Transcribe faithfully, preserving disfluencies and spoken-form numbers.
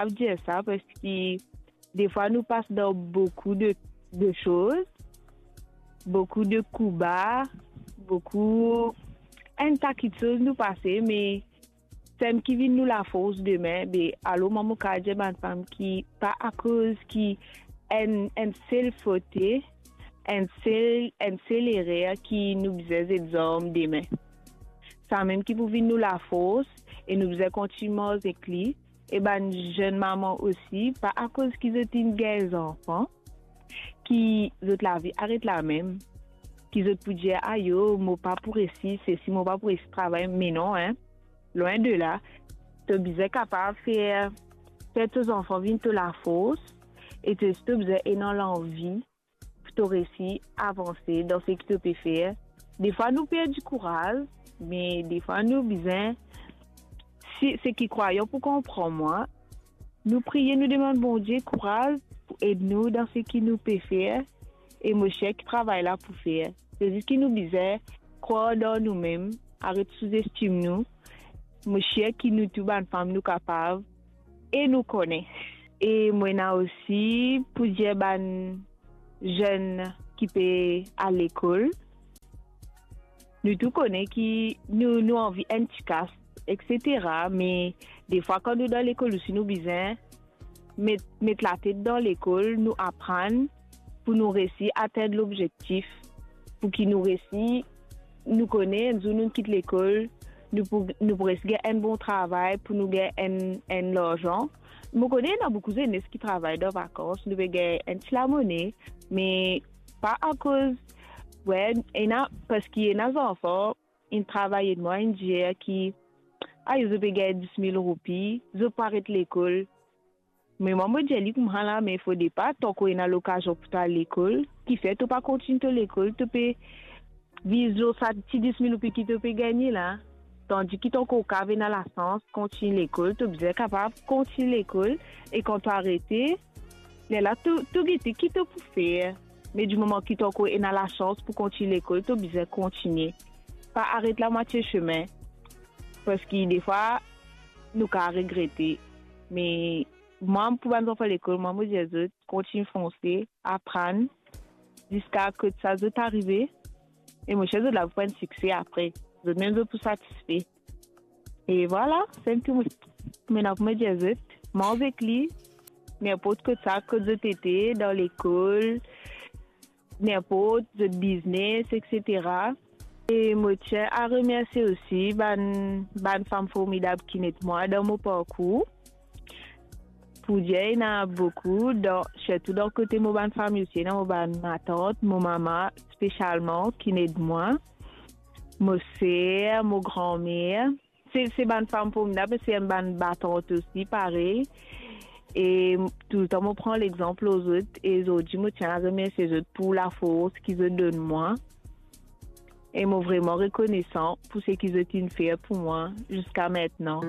kapav dir sa, parski defwa nou pas dan boukou de, de soz, boukou de kouba, boukou, enn ta kiksoz nou pase, me samem ki vinn nou lafors demin, be, alor mwa mo kapav dir bann fam ki pa akoz ki enn, enn sel fote, enn sel, enn sel erer ki nou bizin zet zarm demin. Samem ki pou vinn nou lafors e nou bizin kontign mars ek li. E bann zenn mama osi, pa akoz ki zot inn gagn zanfan, ki zot lavi aret lamem, ki zot pou dir, "Ayo, mo pa pou resi sesi, mo pa pou resi travay." Me non, en, lwin de la, to bizin kapav fer, fer to zanfan vinn to lafors, e to, to bizin ena lanvi pou to resi avanse dan seki to pe fer. Defwa nou perdi kouraz, me defwa nou bizin, si, seki krwayan pou konpran mwa, nou priye, nou demann Bondie kouraz pou ed nou dan seki nou pe fer, e mo sir ki travay la pou fer. Se zis ki nou bizin krwar dan noumem, aret souzestim nou. Mo sir ki nou tou bann fam nou kapav e nou kone. E mo ena osi pou dir bann zenn ki pe al lekol, nou tou kone ki nou, nou anvi enn ti kas, etsetera. Me defwa kan nou dan lekol osi nou bizin met, met latet dan lekol, nou aprann pou nou resi atenn lobzektif, pou ki nou resi, nou kone enn zour nou kit lekol, nou pou, nou pou resi gagn enn bon travay pou nou gagn enn, enn larzan. Mo kone ena boukou zenes ki travay dan vakans, nou pe gagn enn ti lamone, me pa akoz, we, ena, parski ena zanfan inn travay ed mwa, inn dir ki, a, zot pe gagn dis mil roupi, zot pou aret lekol. Me mwa, mo dir li koumsa la, me fode pa, tank ena lokazion pou to al lekol, kifer to pa kontign to lekol, to pe viv lor sa ti dis mil roupi ki to pe gagne la. Tandis ki tank to kapav ena lasans kontign lekol, to bizin kapav kontign lekol, e kan to arete, lerla to, to gete ki to pou fer. Me di moman ki to ankor ena lasans pou kontign lekol, to bizin kontigne. Pa aret lamwatie sime, parski defwa, nou kapav regrete. Me mwa, pou bann zanfan lekol, mwa, mo dir zot, kontign fonse, aprann, ziska kot sa zot arive, e mo sir zot la pou pran sikse apre. Zot mem zot pou satisfe. E vwala, se tou mo ena pou mo dir zot. Manz ek li, ninport kot sa, kot zot ete, dan lekol, ninport zot biznes, etsetera. E mo tien a remersie osi bann, bann fam formidab ki inn ed mwa dan mo parkour. Pou dir, ena boukou, dan, sirtou dan kote mo bann fami osi, ena mo bann matant, mo mama, spesialman, ki inn ed mwa, mo ser, mo granmer. Se, se bann fam formidab, me se bann batant osi, parey. E toultan mo pran lexanp lor zot, e zordi mo tien a remersie zot pou lafors ki zot donn mwa. E mo vreman rekonesan pou seki zot inn fer pou mwa ziska mintnan.